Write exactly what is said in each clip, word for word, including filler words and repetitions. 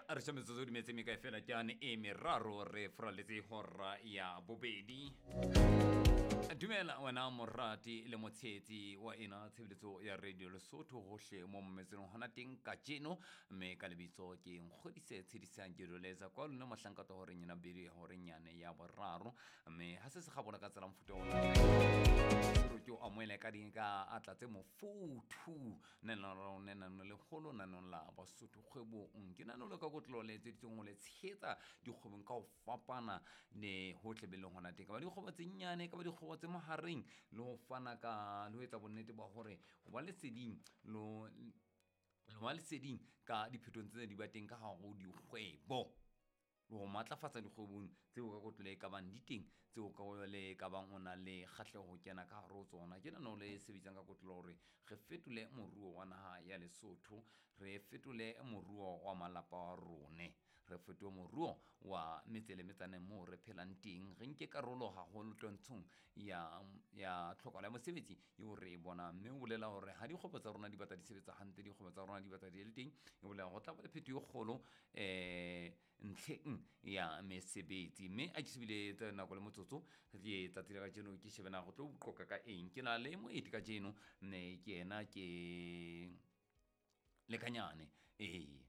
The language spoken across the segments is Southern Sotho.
A re metsotso di metse mekae fela ke ane e meraro re furaletse hora ya bobedi. Dumela wena morati le motshehetsi wa ena tshebeletso ya Radio Lesotho hohle mo mmetseng hona teng kajeno, mme ka lebitso ke Nkgodise Tshedisang ke doletsa kwa lona mohlanka to horeng ena bedi horeng yane ya boraro, mme ha se se kgabola ka tsela mofuta ona ke o amohele ka ding ka atla tse mofuthu nena nena le kgolo nanong la Basotho kgwebong. Ke nano le ka kotlo le etseditsweng ho le tshehetsa dikgwebong ka ho fapana le hohle be leng hona teng, ka ba dikgwebo tse nyane, ka ba dikgwebo tse mahareng, le ho fana ka le ho etsa bonnete ba hore ho ba leseding lo lo ba leseding ka diphetong tse di ba teng ka hare ho dikgwebo, le ho matlafatsa dikgwebong tseo ka kotlo le ka bang di teng, tseo ka le ka bang o na le kgahleho ho kena ka hare ho tsona. Ke nano le sebetsang ka kotlo hore re fetole moruo wa naha ya Lesotho, re fetole moruo wa malapa a rone, re fetole moruo wa metse le metsaneng moo re phelang teng, re nke karolo haholo twantshong ya ya tlhokahalo ya mosebetsi eo re e bonang. Mme o bolela hore ha dikgwebo tsa rona di batla di sebetsa hantle, dikgwebo tsa rona di batla di le teng, e bolela ho tla ba le phetoho e kgolo eh ntlheng ya mesebetsi. Mme a ke shebile tsa nako le motsotso ke tsatsi la kajeno ke shebe na go tlo qoqa ka eng. Ke na le moeti kajeno, mme ke yena ke Lekanyane. Ee,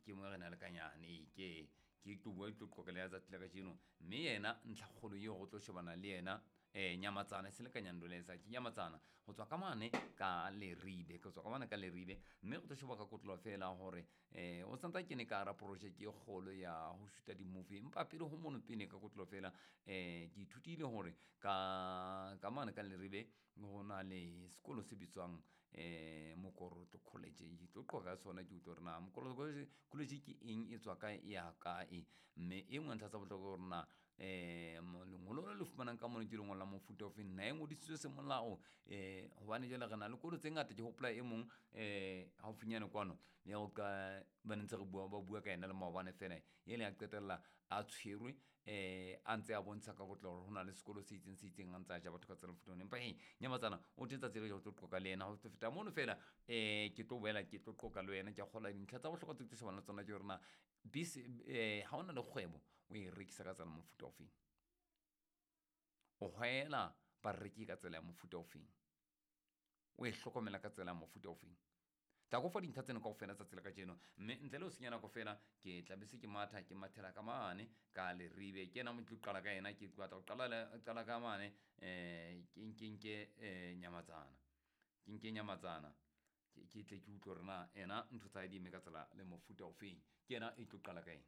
ke mo re na Lekanyane, ee ke ke tlo bua tlo qoqa le ya tsatsi la kajeno, mme yena ntlhakgolo eo go tlo shebana le yena eh Nyamatsana se Lekanyane doletsa ke Nyamatsana ho tswa ka mane ka Leribe, ke tswa ka mane ka Leribe. Mme go tlo sheba ka kotlo fela hore eh o santsa ke ne ka ra project e kgolo ya ho shoota di-movie, empa pele ho mono pele ka kotlo fela eh ke ithutile hore ka ka mane ka Leribe ho na le sekolo se bitswang eh Mokorotlo College. Ke tlo qoqa ka sona, ke utlwe hore na Mokorotlo College College ke eng, e tswa kae, e ya kae, mme e nngwe ntlha tsa bohlokwa hore na eh lengolo le le fumanang ka mono ke lengolo la mofuta ofeng, na e ngodisitswe semolao eh hobane jwale re na le kolo tse ngata. Ke hopola e mong eh haufinyane kwano ya ho ka ba ne ntse re bua ba bua ka yena le maobane fela, e le a qetella a tshwerwe eh a ntse a bontsha ka botlalo hore ho na le sekolo se itseng se itseng, a ntse a ja batho ka tsela mofuta ona. Empa he Nyamatsana o teng tsatsi le ho tlo qoqa le yena ho feta mono fela eh ke tlo boela ke tlo qoqa le wena. Ke a kgolwa dintlha tsa bohlokwa tse tlo shebana le tsona ke hore na bese eh ha ona le kgwebo o e rekisa ka tsela mofuta ofeng, o hwela bareki ka tsela ya mofuta ofeng, o e hlokomela ka tsela ya mofuta ofeng. Tla go fa dintlha tseno kaofela tsatsi la kajeno, mme ntle le ho senya nako fela ke tla be se ke matha ke mathela ka mane ka Leribe. Ke yena mo tlo qala ka yena, ke batla ho qala qala ka mane eh ke nke nke eh Nyamatsana, ke nke Nyamatsana ke tle ke utlwe hore na ena ntho tsa hae di eme ka tsela le mofuta ofeng. Ke yena e tlo qala ka ena.